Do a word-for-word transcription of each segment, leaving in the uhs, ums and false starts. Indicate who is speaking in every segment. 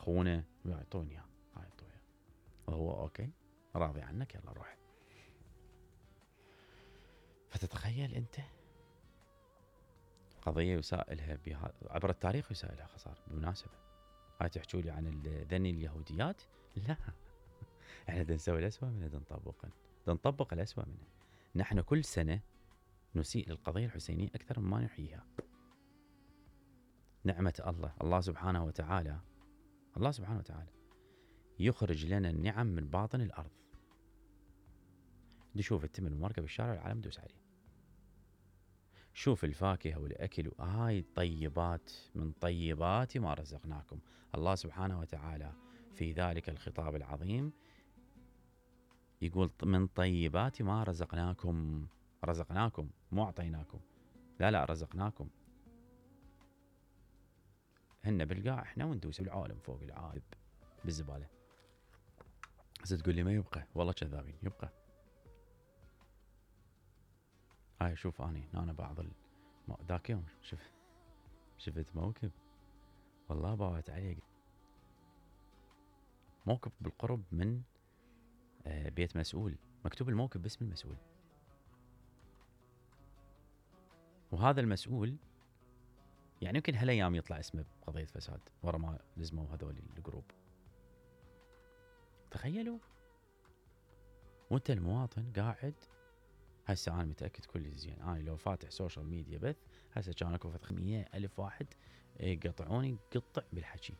Speaker 1: اخونا يعطوني اياه هاي اعطوه وهو اوكي راضي عنك يلا روح. فتتخيل انت قضيه يسائلها بها عبر التاريخ يسائلها خساره. بالمناسبه هاي تحكوا لي عن ذني اليهوديات؟ لا احنا دا نسوي الاسوء منه، دا نطبقه، دا نطبق الاسوء منه. نحن كل سنه نسيء للقضيه الحسينيه اكثر مما نحييها. نعمه الله الله سبحانه وتعالى الله سبحانه وتعالى يخرج لنا النعم من باطن الارض. دي شوف التمن المركب بالشارع العالم دوس عليه. شوف الفاكهه والاكل هاي طيبات من طيبات ما رزقناكم. الله سبحانه وتعالى في ذلك الخطاب العظيم يقول من طيبات ما رزقناكم. رزقناكم مو اعطيناكم، لا لا رزقناكم. هن بالقاع احنا وندوس بالعالم فوق العالم بالزباله. هسه تقول لي ما يبقى، والله كذابين يبقى. هاي شوف اني انا بعض ال... ذاك يوم شفت شفت موكب والله باوت عليه موكب بالقرب من بيت مسؤول، مكتوب الموكب باسم المسؤول، وهذا المسؤول يعني يمكن هالايام يطلع اسمه بقضيه فساد ورا ما لزموا هذول الجروب. تخيلوا وانت المواطن قاعد. هسه انا متاكد كل زين انا لو فاتح سوشيال ميديا بث هسه كان اكو مية الف واحد يقطعوني قطع بالحكي،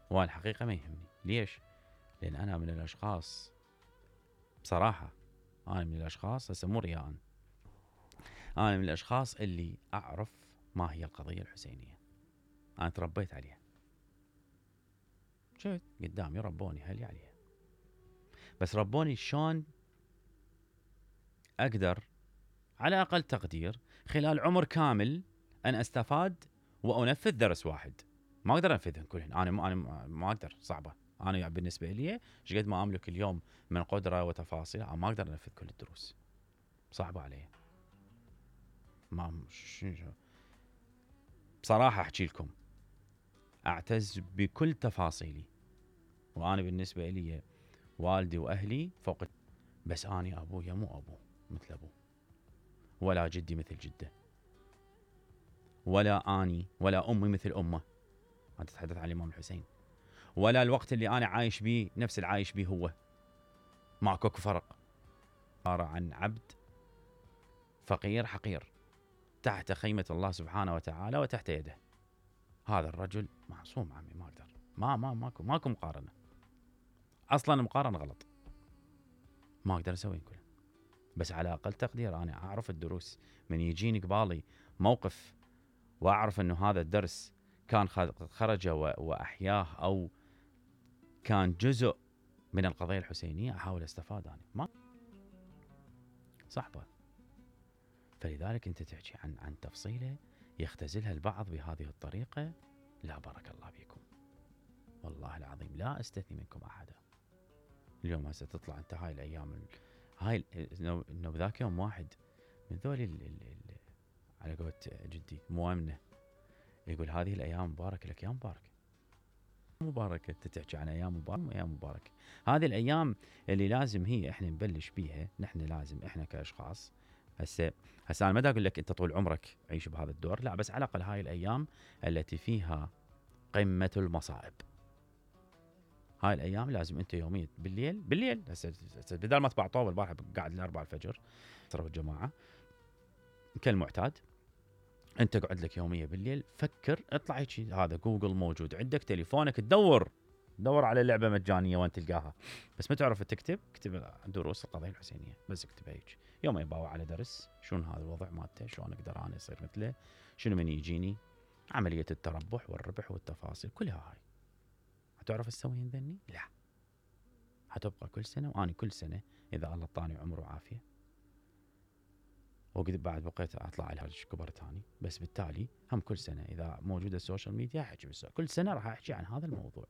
Speaker 1: وانا الحقيقه ما يهمني. ليش؟ لان انا من الاشخاص بصراحه انا من الاشخاص هسه مو رياء، انا من الاشخاص اللي اعرف ما هي القضيه الحسينيه. انا تربيت عليها، شفت قدامي ربوني اهلي عليها، بس ربوني شلون اقدر على اقل تقدير خلال عمر كامل ان استفاد وانفذ درس واحد. ما اقدر انفذهم كلهن، انا ما انا ما اقدر، صعبه. انا بالنسبه لي ايش قد ما املك اليوم من قدره وتفاصيل انا ما اقدر انفذ كل الدروس، صعبه علي. ما شنو بصراحه احكي لكم اعتز بكل تفاصيلي، وانا بالنسبه لي والدي واهلي فوق، بس اني ابويا مو ابو مثل ابوه، ولا جدي مثل جده، ولا اني ولا امي مثل امه. انت تتحدث عن الامام الحسين، ولا الوقت اللي انا عايش بيه نفس العايش بيه هو، ماكو فرق. عباره عن عبد فقير حقير تحت خيمه الله سبحانه وتعالى وتحت يده. هذا الرجل معصوم عمي، ما اقدر، ما ما ماكو ماكو مقارنه، اصلا مقارنه غلط، ما اقدر اسوي كله. بس على اقل تقدير انا اعرف الدروس من يجيني قبالي موقف واعرف انه هذا الدرس كان خرج واحياه او كان جزء من القضيه الحسينيه، احاول استفاد انا. ما صعبه. فلذلك انت تحكي عن عن تفصيله يختزلها البعض بهذه الطريقه، لا بارك الله فيكم. والله العظيم لا استثني منكم احدا. اليوم هسه تطلع انت هاي الايام هاي انه بذاك يوم واحد من ذول على قولت جدي موامنه يقول هذه الايام مباركه لك. يا مباركه مباركه، انت تحكي عن ايام مباركه ايام مباركه. هذه الايام اللي لازم هي احنا نبلش بيها، نحن لازم احنا كاشخاص. هسه هسه انا ما اقول لك انت طول عمرك عيش بهذا الدور، لا، بس على الاقل هاي الايام التي فيها قمه المصائب، هاي الايام لازم انت يوميا بالليل بالليل هسه بدل ما تبع طوب البارحه قاعد لأربعة الفجر صرف الجماعه كالمعتاد، انت قعد لك يوميا بالليل فكر، اطلع هيك، هذا جوجل موجود عندك، تليفونك تدور دور على لعبه مجانيه وين تلقاها، بس ما تعرف تكتب، اكتب دروس القضيه الحسينيه بس، اكتب هيك يوم يباوع على درس شلون هذا الوضع مالته، شلون اقدر انا اصير مثله، شنو من يجيني عمليه التربح والربح والتفاصيل كلها. هاي هتعرف تسويهن ذني؟ لا، هتبقى كل سنه، واني كل سنه اذا الله طاني عمر وعافيه وقد بعد بقيت اطلع على الكبر ثاني، بس بالتالي هم كل سنه اذا موجوده السوشيال ميديا احكي بس كل سنه راح احكي عن هذا الموضوع،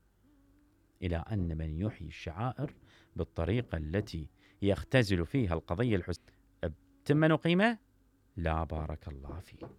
Speaker 1: الى ان من يحيي الشعائر بالطريقه التي يختزل فيها القضيه الحسينيه بتمن وقيمه، لا بارك الله فيه.